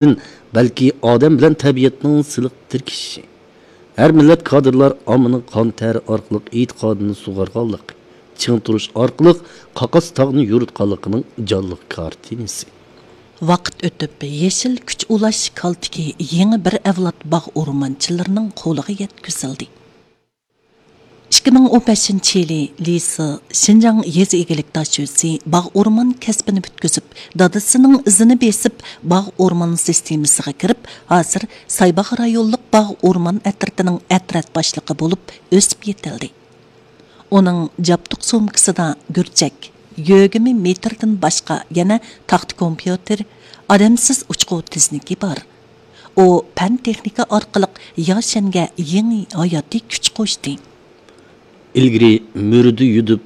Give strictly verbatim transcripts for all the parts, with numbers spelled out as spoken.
بەلكى ئادەم بىلەن تەبىئەتنىڭ سىلىق تىركىشىشى. ھەر مىللەت كادىرلار ئاممىنىڭ قان تەرى ئارقىلىق ئېتىقادىنى سۇغارغانلىقى، چىڭ تۇرۇش ئارقىلىق قاقاس تاغنى يورۇتقانلىقىنىڭ جانلىق كارتىنىسى. ۋاقىت ئۆتۈپ، يېشىل كۈچ ئۇلاش كالتىكى يېڭى بىر ئەۋلاد باغ ئورمانچىلىرىنىڭ قولىغا يەتكۈزۈلدى. ئىككى مىڭ ئون بەشىنچى يىلى لىسى شىنجاڭ يېزا ئىگىلىك داشۆسى باغ ئورمان كەسپىنى پۈتكۈزۈپ، دادىسىنىڭ ئىزىنى بېسىپ، باغ ئورمان سىستېمىسىغا كىرىپ، ھازىر سايباغ رايونلۇق باغ ئورمان ئەترىتىنىڭ ئەترەت باشلىقى بولۇپ ئۆسۈپ يېتىلدى. ئۇنىڭ جابدۇق سومكىسىدا گۈرچەك، يۆگىمە مېتىردىن باشقا يەنە تاختا كومپيۇتېر، ئادەمسىز ئۇچقۇ تىزنىكى بار. ئۇ پەن تېخنىكا ئارقىلىق ياشەنگە يېڭى ھاياتىي كۈچ قوشتى. ئىلگىرى مۈرىدە يۈدۈپ،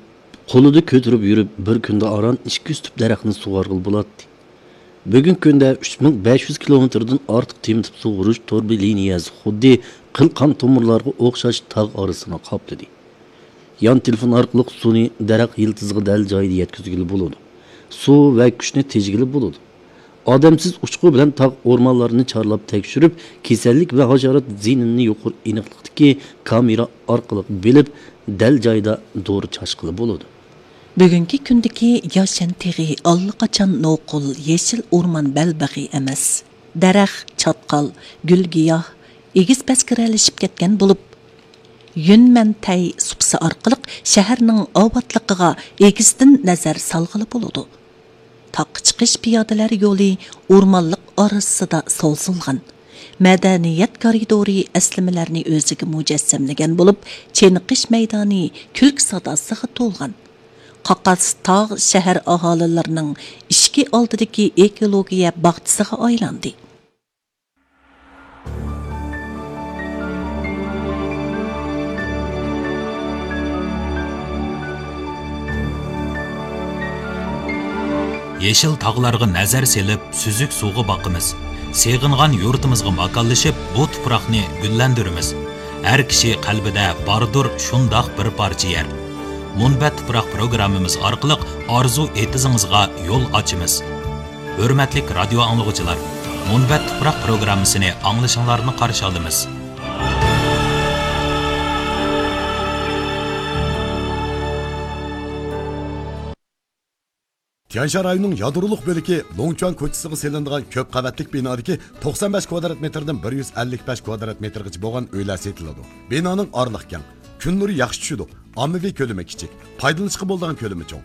قولىدا كۆتۈرۈپ يۈرۈپ، بىر كۈندە ئاران ئىككى يۈز تۈپ دەرەخنى سۇغارغىلى بولاتتى. بۈگۈنكى كۈندە ئۈچ مىڭ بەش يۈز كىلومېتىردىن ئارتۇق تېمىتىپ سۇغۇرۇش توربا لىنىيەسى خۇددى قىل قان تومۇرلارغا ئوخشاش تاغ ئارىسىنى قاپلىدى. يان تېلېفون ئارقىلىق سۇنى دەرەخ يىلتىزىغا دەل جايىدا يەتكۈزگىلى بولىدۇ. سۇ ۋە كۈچنى تېجىگىلى بولىدۇ. ئادەمسىز ئۇچقۇ بىلەن تاغ ئورمانلارنى چارلاپ تەكشۈرۈپ، كېسەللىك ۋە ھاشارات زىيىنىنى يۇقىرى ئېنىقلىقتىكى كامېرا ئارقىلىق بىلىپ، دەل جايىدا دورا چاچقىلى بولىدۇ. بۈگۈنكى كۈندىكى ياشەن تېغى ئاللىقاچان نوقۇل يېشىل ئورمان بەلبېغى ئەمەس. دەرەخ، چاتقال، گۈل-گىياھ ئېگىز-پەسكىرەلىشىپ كەتكەن بولۇپ، يۈنمەنتەي سۇپىسى ئارقىلىق شەھەرنىڭ ئاۋاتلىقىغا ئېگىزدىن نەزەر سالغىلى بولىدۇ. تاغقا چىقىش پىيادىلەر يولى ئورمانلىق ئارىسىدا سوزۇلغان. مەدەنىيەت كارىدورى ئەسلىمىلەرنى ئۆزىگە مۇجەسسەملىگەن بولۇپ، چېنىقىش مەيدانى كۈلكە ساداسىغا تولغان. قاقاس تاغ شەھەر ئاھالىلىرىنىڭ ئىشىكى ئالدىدىكى ئېكولوگىيە باغچىسىغا ئايلاندى. يېشىل تاغلارغا نەزەر سېلىپ، سۈزۈك سۇغا باقىمىز. سېغىنغان يۇرتىمىزغا ماكانلىشىپ، بۇ تۇپراقنى گۈللەندۈرىمىز. ھەر كىشى قەلبىدە باردۇر شۇنداق بىر پارچە يەر. مۇنبەت تۇپراق پروگراممىمىز ئارقىلىق ئارزۇ ئېتىزىڭىزغا يول ئاچىمىز. ھۆرمەتلىك رادىيو ئاڭلىغۇچىلار، مۇنبەت تۇپراق پروگراممىسىنى ئاڭلىشىڭلارنى قارشى ئالىمىز. تيەنشان رايونىنىڭ يادرولۇق بۆلىكى لوڭچۈەن كوچىسىغا سېلىنىدىغان كۆپ قەۋەتلىك بىنادىكى توقسان بەش كۋادرات مېتىردىن بىر يۈز ئەللىك بەش كۋادرات مېتىرغىچە بولغان ئۆيلەر سېتىلىدۇ. بىنانىڭ ئارىلىقى كەڭ، كۈن نۇرى ياخشى چۈشىدۇ، ئاممىۋى كۆلىمى كىچىك، پايدىلىنىشقا بولىدىغان كۆلىمى چوڭ.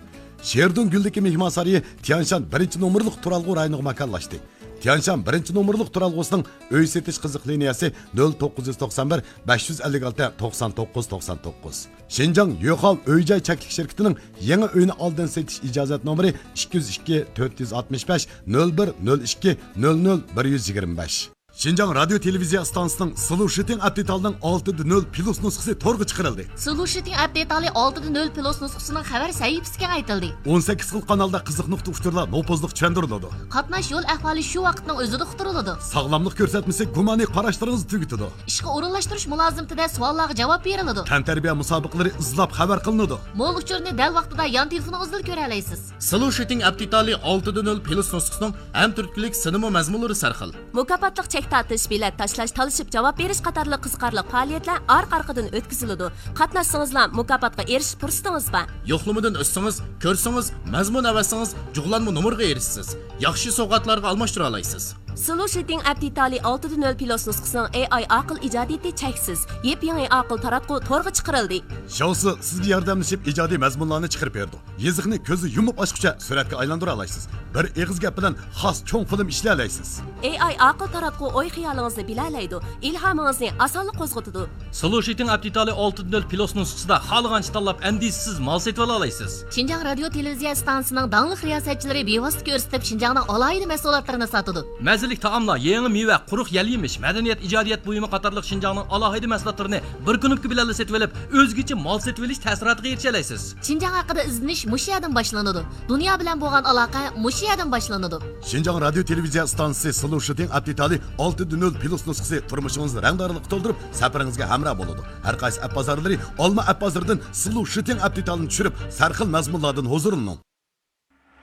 شېردۇڭ گۈلدىكى مېھمانسارىيى تيەنشان بىرىنچى نومۇرلۇق تۇرالغۇ رايونىغا ماكانلاشتى. تيەنشان بىرىنچى نومۇرلۇق تۇرالغۇسىنىڭ ئۆي سېتىش قىزىق لىنىيەسى نۆل توققۇز يۈز توقسان بىر، بەش يۈز ئەللىك ئالتە، توقسان توققۇز، توقسان توققۇز. شىنجاڭ يۆخاۋ ئۆي جاي چەكلىك شىركىتىنىڭ يېڭى ئۆينى ئالدىن سېتىش ئىجازەت نومۇرى ئىككى يۈز ئىككى، تۆت يۈز ئاتمىش بەش، نۆل بىر، نۆل ئىككى، نۆل نۆل، بىر يۈز يىگىرمە بەش. شىنجاڭ رادىيو تېلېۋىزىيە ئىستانسىسىنىڭ سىلۇ شىتىڭ ئەپ دېتالىنىڭ ئالتىدە نۆل پلۇس نۇسخىسى تورغا چىقىرىلدى. سىلۇ شىتىڭ ئەپ دېتالى ئالتىدە نۆل پلۇس نۇسخىسىنىڭ خەۋەر سەھىپىسى كېڭەيتىلدى. ئون سەككىز خىل قانالدا قىزىق نۇقتا ئۇچۇرلار نوپۇزلۇق چۈشەندۈرۈلىدۇ. قاتناش يول ئەھۋالى شۇ ۋاقىتنىڭ ئۆزىدە ئۇقتۇرۇلىدۇ. ساغلاملىق كۆرسەتمىسى گۇمانىي قاراشلىرىڭىزنى تۈگىتىدۇ. ئىشقا ئورۇنلاشتۇرۇش مۇلازىمىتىدە سوئاللارغا جاۋاب بېرىلىدۇ. تەنتەربىيە مۇسابىقىلىرى ئىزلاپ خەۋەر قىلىنىدۇ. مول ئۇچۇرنى دەل ۋاقتىدا يان تېلېفونىڭىزدىلا كۆرەلەيسىز. سىلۇ شىتىڭ ئەپ دېتالى ئالتىدە نۆل پلۇس نۇسخىسىنىڭ ھەم تۈرتكىلىك سىنىما مەزمۇنلىرى سەرخىل. مۇكاپاتلىق چەك تارتىش، بېلەت تاشلاش، تالىشىپ جاۋاب بېرىش قاتارلىق قىزىقارلىق پائالىيەتلەر ئارقا-ئارقىدىن ئۆتكۈزۈلىدۇ. قاتناشسىڭىزلا مۇكاپاتقا ئېرىشىش پۇرسىتىڭىز بار. يوقلىمىدىن ئۆتسىڭىز، كۆرسىڭىز، مەزمۇن ئەۋەتسىڭىز، جۇغلانما نومۇرغا ئېرىشىسىز. ياخشى سوۋغاتلارغا ئالماشتۇرالايسىز. سىلۇ شىتىڭ ئەپ دېتالى ئالتىدە نۆل پلۇس نۇسخىسىنىڭ ئېي ئاي ئاقىل ئىجادىيىتى چەكسىز. يېپيېڭى ئاقىل تاراتقۇ تورغا چىقىرىلدى. شياۋسى سىزگە ياردەملىشىپ ئىجادىي مەزمۇنلارنى چىقىرىپ بېرىدۇ. يېزىقنى كۆزنى يۇمۇپ ئاچقۇچە سۈرەتكە ئايلاندۇرالايسىز. بىر ئېغىز گەپ بىلەن خاس چوڭ فىلىم ئىشلىيەلەيسىز. ئېي ئاي ئاقىل تاراتقۇ ئوي-خىيالىڭىزنى بىلەلەيدۇ، ئىلھامىڭىزنى ئاسانلا قوزغىتىدۇ. سىلۇ شىتىڭ ئەپ دېتالى ئالتىدە نۆل پلۇس نۇسخىسىدا خالىغانچە تاللاپ، ئەندىشىسىز مال سېتىۋالالايسىز. شىنجاڭ رادىيو تېلېۋىزىيە ئىستانسىسىنىڭ داڭلىق رىياسەتچىلىرى بىۋاسىتە كۆرسىتىپ، شىنجاڭنىڭ ئالاھىدە مەھسۇلاتلىرىنى ساتىدۇ. مەززىلىك تائاملار، يېڭى مېۋە، قۇرۇق يەل-يېمىش، مەدەنىيەت، ئىجادىيەت بۇيۇمى قاتارلىق شىنجاڭنىڭ ئالاھىدە مەھسۇلاتلىرىنى بىر كۇنۇپكا بىلەنلا سېتىۋېلىپ، ئۆزگىچە مال سېتىۋېلىش تەسىراتىغا ئېرىشەلەيسىز. شىنجاڭ ھەققىدە ئىزدىنىش مۇشۇ يەردىن باشلىنىدۇ. دۇنيا بىلەن بولغان ئالاقە مۇشۇ يەردىن باشلىنىدۇ. شىنجاڭ رادىيو تېلېۋىزىيە ئىستانسىسى سىلۇ شىتىڭ ئەپ دېتالى ئالتىدە نۆل پلۇس نۇسخىسى تۇرمۇشىڭىزنى رەڭدارلىققا تولدۇرۇپ، سەپىرىڭىزگە ھەمراھ بولىدۇ. ھەر قايسى ئەپ بازارلىرى ئالما ئەپ بازىرىدىن سىلۇ شىتىڭ ئەپ دېتالىنى چۈشۈرۈپ، سەرخىل مەزمۇنلاردىن ھۇزۇرلىنىڭ.